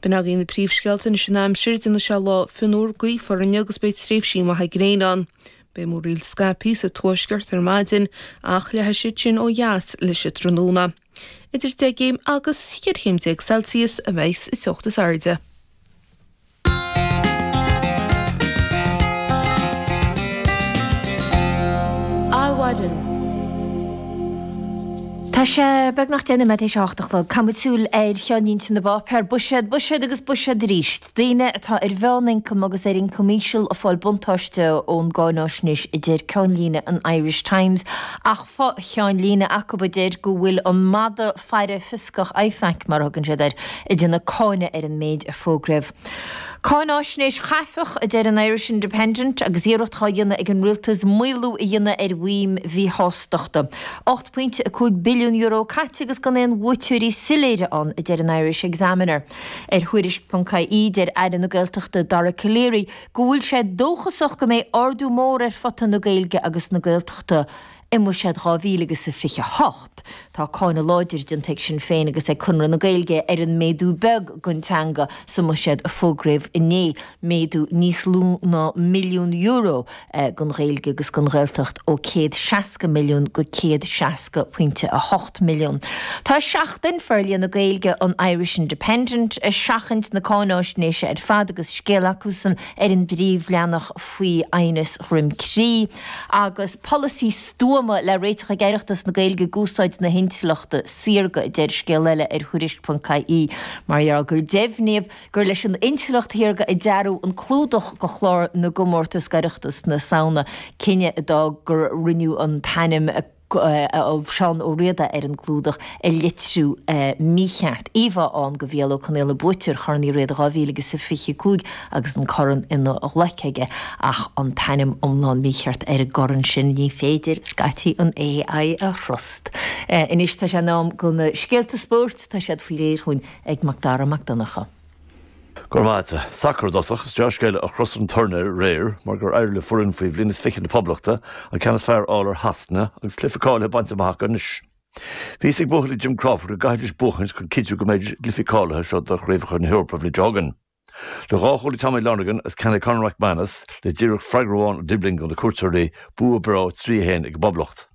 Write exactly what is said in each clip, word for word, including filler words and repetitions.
B'in agaibh na príomhscéalta anois an aimsir, déanfaidh sé lá fionnuar gaofar inniu agus beidh tréimhsí maithe gréine ann. Beidh múraíl scaipthe sa tuaisceart ar maidin ach leathfaidh siad sin ó dheas leis an tráthnóna. Idir deich gcéim agus cheithre chéim déag Celsius a bheidh sa teocht is airde. Adhmhaidin. Tá sé beagnach deich nóiméad théis a hocht a chlog. Caithfidh muid súil ar cheannlínte na bpáipéar. Buiséad, buiséad agus buiséad arís. Daoine atá ar mheánioncam agus ar ioncam íseal ag fáil buntáiste ón gcáináisnéis, a deir ceannlíne an Irish Times. Ach fo-cheannlíne acu a deir go bhfuil an madadh faire fioscach IFAC, mar a thugann siad air, ag déanamh cáineadh ar an méid a fógraíodh. Cáináisnéis chaifeach, a deir an Irish Independent, agus iarracht á dhéanamh ag an rialtas maolú a dhéanamh ar mhaidhm mhíshástachta. Ocht bpointe a cúig billiún euro caite agus gan aon bhuaiteoirí soiléire ann, a deir an Irish Examiner. Ar Thuairisc ponc ie, deir Aire na Gaeltachta Dara Calleary go bhfuil sé dóchasach go mbeidh ardú mór ar phota na Gaeilge agus na Gaeltachta i mBuiséad dhá mhíle agus a fiche a hocht. Tá cáineadh láidir déanta ag Sinn Féin agus ag Conradh na Gaeilge ar an méadú beag don teanga sa mbuiséad a fógraíodh inné, méadú níos lú ná milliún euro don Ghaeilge agus don Ghaeltacht ó céad seasca milliún go céad seasca pointe a hocht milliún. Tá Seachtain Forlíonadh na Gaeilge an Irish Independent ag seachaint na cáináisnéise ar fad agus scéal acusan ar an bpríomhleathanach faoi aighneas Dhroim Crí agus polasaí stuama le réiteach ag Oireachtas na Gaeilge ag úsáid na hintleachta saorga, a deir scéal eile ar Thuairisc ponc ie, mar gheall gur deimhníodh gur leis an intleacht shaorga a dearadh an clúdach do chlár na gcomórtas Oireachtas na Samhna, cinneadh a d'fhág gur rinneadh an t-ainm Seán Ó Riada ar an gclúdach a litriú mícheart. Íomhá ann de Mhícheál Ó Conghaile, buaiteoir Chorn Uí Riada dhá mhíle agus a fiche cúig agus an corn ina ghlaic aige ach an t-ainm iomlán mícheart ar an gcorn sin. Ní féidir scaití an AI a thrust. Anois tá sé in am do na scéalta spóirt, tá siad faoi réir chugainn ag Macdara Mac Donncha. Go raibh maith agat. Sacar i dtosach, is dea-scéala ó Chros an Tuirne aréir mar gur éirigh le foireann faoi bhliain is fiche na Poblachta an ceann is fearr a fháil ar Shasana agus cluiche cáilithe bainte amach acu anois. Bhí a fhios ag buachaillí Jim Crawford go gcaithfidís buachaint chun cinntiú go mbeidís i gcluichí cáilithe seo do Chraobhacha na hEorpa an bhliain seo chugainn. Le dhá chúl ag Tommy Lonergan agus ceann ag Conor McManus, le díreach freagra amháin ó Dibling do na cuairteoirí, bua breá trí a haon ag an bPoblacht.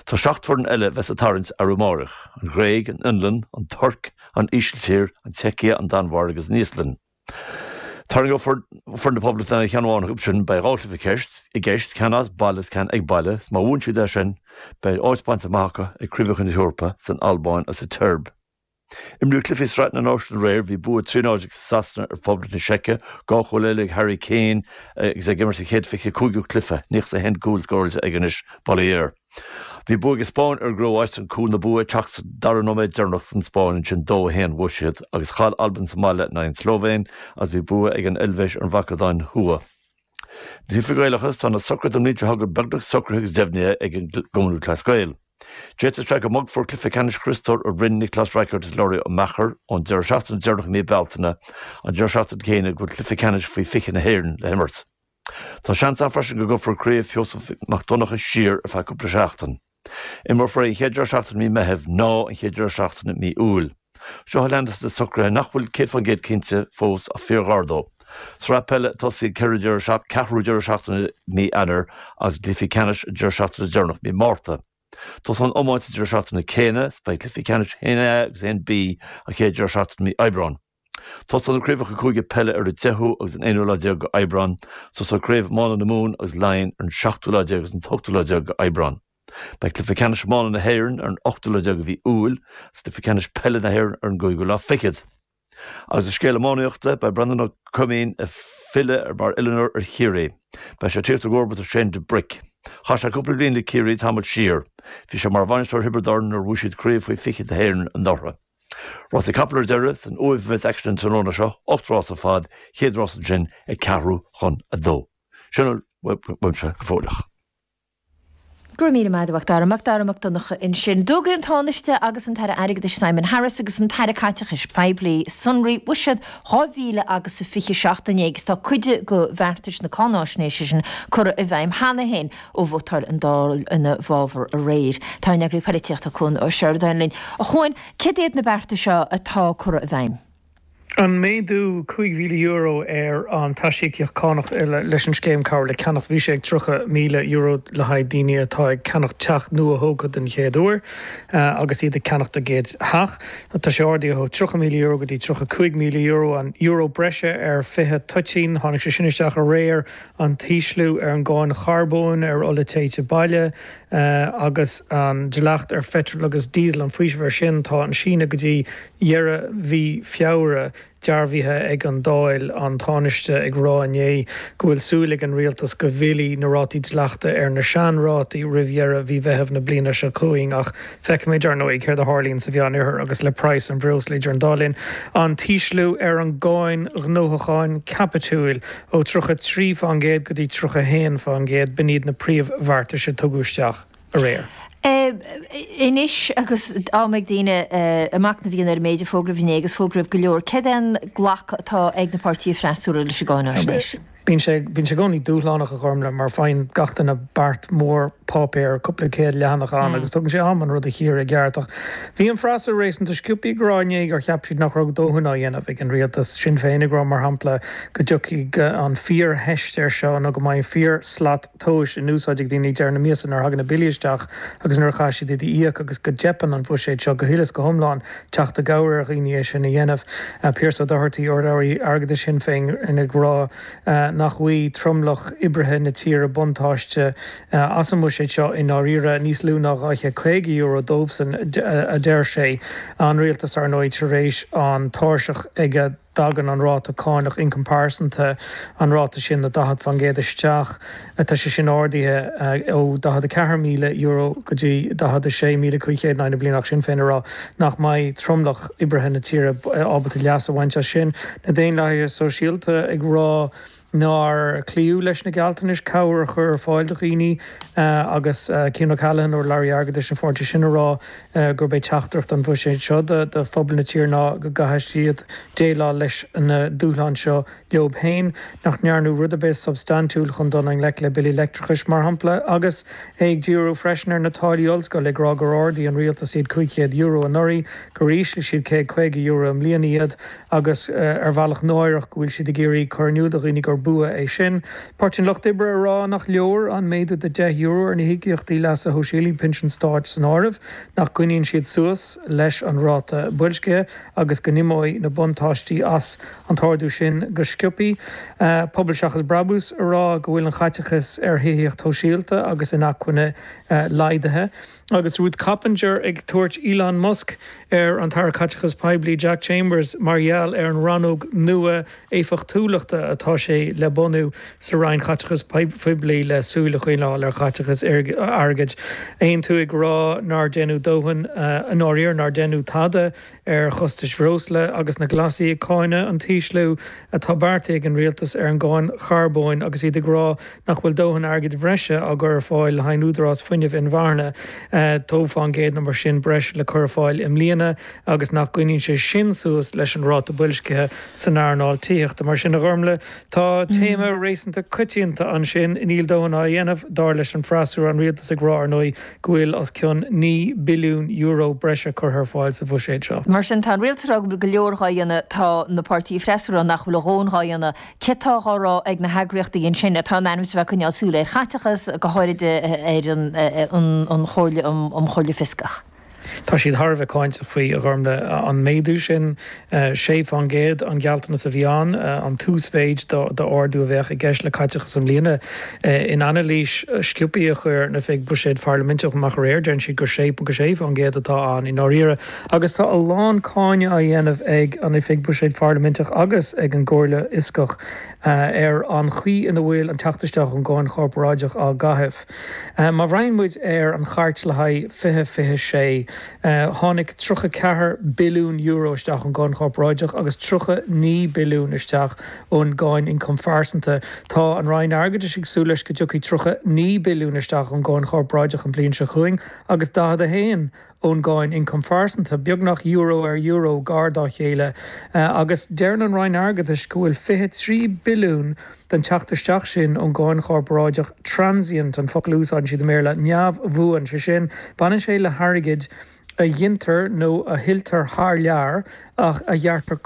Tá seacht bhfoireann eile a bheas sa tarraingt arú amárach, an Ghréig, an Fhionlainn, an Tuirc, an Ísiltír, an tSeicia, an Danmhairg agus an Íoslainn. Tarraingeofar foireann na Poblachta in aghaidh cheann amháin acu sin, beidh dhá chluiche ceist i gceist, ceann as baile is ceann ag baile, is má bhuann siad é sin, beidh áit bainte amach acu ag Craobhacha na hEorpa san Albáin agus sa tSeirbia. Imríodh cluichí Sraith na Náisiún aréir, bhí bua trí náid ag Sasana ar Phoblacht na Seice, dhá chúl eile ag Harry Kane agus é ag imirt a chéad fiche cúigiú cluiche, nócha is a haon cúl scóráilte aige anois, bail ó Dhia air. Bhí bua ag an Spáinn ar an gCróáit, an cúl na bua ag teacht sa dara nóiméad deireanach don Spáinn, ansin dó a haon bhuaigh siad agus chaill Albain sa mbaile in aghaidh an tSlóivéin agus bhí bua ag an Eilvéis ar an Mhacadóin Thuaidh. Na cluichí Gaelacha, tá na socruithe don mbliain seo chugainn beagnach socraithe agus deimhnithe ag an gCumann Lúthchleas Gael. D'fhéadfadh sé go mbogfar cluiche ceannais Chrios Óir i Rinn Nioclás Raiceard is Laurie Ó Meachair ón deireadh seachtaine deireanach i mí Bealtaine, an deireadh seachtaine céanna go bhfuil cluiche ceannais faoi fiche na hÉireann le himirt. Tá seans ann freisin go gcuirfear Craobh Sheosamh Mac Donncha siar ar feadh cúpla seachtain. Imreofar é an chéad deireadh seachtaine i mí Meithimh ná an chéad deireadh seachtaine i mí Iúil. Seo a leanas na socruithe nach bhfuil céad faoin gcéad cinnte fós ach fíorghar dó. Sraith peile ag tosaí an ceathrú deireadh seachtaine i mí Eanáir agus cluichí ceannais an deireadh seachtaine deireanach i mí Márta. Tosóidh an iomáint sa deireadh seachtaine céanna is beidh cluichí ceannais a haon A agus a haon B an chéad deireadh seachtaine i mí Aibreáin. Tosóidh na craobhacha cúige peile ar an deichiú agus an aonú lá déag d'Aibreán. Tosóidh craobh iomána na Mumhan agus Laighean ar an seachtú lá déag agus an t-ochtú lá déag d'Aibreán. Beidh cluiche ceannais iomána na hÉireann ar an ochtú lá déag de mhí Iúil agus cluiche ceannais peile na hÉireann ar an gcúigiú lá fichead. Agus i scéal iománaíochta, beidh Breandán Ó Coimín ag filleadh mar oiliúnóir ar Chiarraí. Beidh sé ag tíocht i gcomharbacht ar Shane de Bric. Chaith sé cúpla bliain le Ciarraí tamall siar. Bhí sé mar bhainisteoir Thiobraid Árann nuair a bhuaigh siad craobh faoi fiche na hÉireann anuraidh. Rásaí capall ar deireadh, san Uaimh a bheas aicsean an tráthnóna seo, ocht rás ar fad, chéad rás ansin ag ceathrú chun a dó. Sin a bhfuil uaimse go fóilleach. Go raibh míle maith agat, a Mhacdara. Macdara Mac Donncha ansin. D'fhógair an Tánaiste agus an tAire Airgeadais Simon Harris agus an tAire Caiteachais Poiblí sonraí bhuiséad dhá mhíle agus a fiche seacht inné agus tá cuid de bheartais na cáináisnéise sin curtha i bhfeidhm cheana féin ó vótáil an Dáil ina bhfabhar aréir. Tá ár n-eagraí polaitíochta Cuan Ó Seireadáin linn. A Chuain, céard iad na bearta seo atá curtha i bhfeidhm? An méadú cúig mhíle euro ar an t-aisíocaíocht cánach leis an scéim cabhair le ceannach, bhí sé ag tríocha míle euro le haghaidh daoine atá ag ceannach teach nua-thógtha den chéad uair agus iad ag ceannacht a gcéad theach. Tá sé ardaithe ó tríocha míle euro go dtí tríocha cúig míle euro, an euro breise ar fiche toitín, tháinig sé sin isteach aréir, an t-ísliú ar an gcáin charbóin ar ola téite baile agus an dleacht ar pheitreal agus díosal, an faoiseamh air sin, tá an síneadh go dtí dheireadh mhí Feabhra dearbhaithe ag an Dáil, an Tánaiste ag rá inné go bhfuil súil ag an rialtas go bhfillfidh na rátaí dleachta ar na seanrátaí roimh dheireadh mhí Mheithimh na bliana seo chugainn ach feicfimid, ar ndóigh, céard a tharlaíonn sa Mheánoirthear agus le praghas an bhreosla idir an dá linn. An t-ísliú ar an gcáin ghnóthacháin caipitiúil ó tríocha trí faoin gcéad go dtí tríocha a haon faoin gcéad, b'in iad na príomhbheartais a tugadh isteach aréir. Anois agus am ag daoine a machnamh a dhéanamh ar an méid a fógraíodh inné agus fógraíodh go leor, céard é an glacadh atá ag na páirtithe freasúra leis an gcáináisnéis? Bíonn sé bíonn sé i gcónaí dúshlánach, a Ghormlaith, mar faigheann gach duine beart mór páipéir, cúpla céad leathanach ann agus tugann sé am an rud a chíoradh i gceart. Ach bhí an freasúra réasúnta sciobtha ag rá inné gur cheap siad nach raibh dóthain á dhéanamh ag an rialtas. Sinn Féin ag rá, mar shampla, go dtiocfaidh an fíortheist air seo nó go mbeidh fíor-slat tomhais in úsáid ag daoine ag deireadh na míosa nuair a thagann na billí isteach agus nuair a chaithfidh siad iad a íoc agus go dteipeann an buiséad seo go huile is go hiomlán teacht i gcabhair ar dhaoine é sin a dhéanamh. Pearse O'Doherty, urlabhraí airgeadais Shinn Féin, ag rá nach bhfaighidh tromlach oibrithe na tíre buntáiste as an mbuiséad seo i ndáiríre, níos lú ná dhá chéad caoga euro dóibhsan, a deir sé. An rialtas, ar ndóigh, tar éis an tairseach ag a dtagann an ráta cánach ioncam pearsanta, an ráta sin de daichead faoin gcéad isteach. Tá sé sin ardaithe ó daichead a ceathair míle euro go dtí daichead a sé míle cúig chéad in aghaidh na bliana ach Sinn Féin ag rá nach mbeidh tromlach oibrithe na tíre ábalta leas a bhaint as sin. Na Daonlathaithe Sóisialta ag rá nár cloíodh leis na gealltanais cabhair a chur ar fáil do dhaoine agus Cian O'Callaghan, urlabhraí airgeadais an pháirtí sin, ag rá gurb é teachtaireacht an bhuiséid seo do phobal na tíre ná go gcaithfidh siad déileáil leis na dúshláin seo leo féin, nach ndearnadh rud ar bith substaintiúil chun dul i ngleic le billí leictreachais, mar shampla, agus é ag díriú freisin ar na táillí ollscoile, ag rá gur ardaigh an rialtas iad cúig chéad euro anuraidh, gur ísligh siad céad caoga euro i mbliana iad agus ar bhealach náireach go bhfuil siad ag iarraidh cur in iúl do dhaoine gur bua é sin. Páirtí an Lucht Oibre ag rá nach leor an méadú de deich euro ar na híocaíochtaí leasa shóisialaigh, pinsin stáit san áireamh, nach gcoinníonn siad suas leis an ráta boilscithe agus go n-imeoidh na buntáistí as an t-ardú sin go sciobtha. Pobal Seachas Brabús ag rá go bhfuil an chaiteachas ar thithíocht shóisialta agus inacmhainne laghdaithe. Agus Ruth Coppinger ag tabhairt Elon Musk ar an tAire Caiteachais Poiblí Jack Chambers mar gheall ar an rannóg nua éifeachtúlachta atá sé le bunú sa Roinn Chaiteachais Phoiblí le súil a choinneáil ar chaiteachas airgid. Aontú ag rá nár deineadh dóthain i ndáiríre, nár deineadh tada ar chostais bhreosla agus na Glasaigh ag cáineadh an t-ísliú atá beartaithe ag an rialtas ar an gcáin charbóin agus iad ag rá nach bhfuil dóthain airgid bhreise á gcur ar fáil le haghaidh an Údarás Fuinnimh Inmharthana, dó fán gcéad nó mar sin breis le cur ar fáil i mbliana agus nach gcoinníonn sé sin suas leis an ráta boilscithe san earnáil tithíochta. Mar sin, a Ghormlaith, tá téama réasúnta coitianta ansin, níl dóthain á dhéanamh, dar leis an bhfreasúra, an rialtas ag rá, ar ndóigh, go bhfuil os cionn naoi billiún euro breise curtha ar fáil sa bhuiséad seo. Mar sin, tá an rialtas ag rá go bhfuil go leor dhá dhéanamh, tá na páirtithe freasúra nach bhfuil a dhóthain dhá dhéanamh. Céard tá dhá rá ag na heagraíochtaí ansin atá in ainm is a bheith ag coinneáil súil ar chaiteachas, go háirid ar an Chomhairle um Chomhairle Fioscach? Tá siad thar a bheith cáinteach faoi, a Ghormlaith, an méadú sin, sé fán gcéad an gealltanas a bhí ann, an t-uasmhéid d'ardú a bheadh i gceist le caiteachas i mbliana. In anailís sciobtha a chuir an Oifig Buiséid Pharlaiminteach amach aréir, deireann siad gur sé ponc sé fán gcéad atá ann i ndáiríre. Agus tá a lán cáineadh á dhéanamh ag an Oifig Buiséid Pharlaiminteach agus ag an gComhairle Fhioscach ar an chaoi ina bhfuil an teacht isteach ón gcáin chorparáideach á gcaitheamh. Má bhreathnaíonn muid ar an chairt le haghaidh fiche fiche sé, tháinig tríocha ceathair billiún euro isteach ón gcáin chorparáideach agus tríocha naoi billiún isteach ón gcáin ioncaim phearsanta. Tá an Roinn Airgeadais ag súil leis go dtiocfaidh tríocha naoi billiún isteach ón gcáin chorparáideach an bhliain seo chugainn agus daichead a haon ón gcáin ioncaim phearsanta, beagnach euro ar euro gar dá chéile, agus deireann an Roinn Airgeadais go bhfuil fiche trí billiún den teacht isteach sin ón gcáin chorparáideach transient, an focal a úsáideann siad i mBéarla, neamhbhuan, sé sin, baineann sé le hairgead a ghintear nó a thuilltear thar lear ach a ghearrtar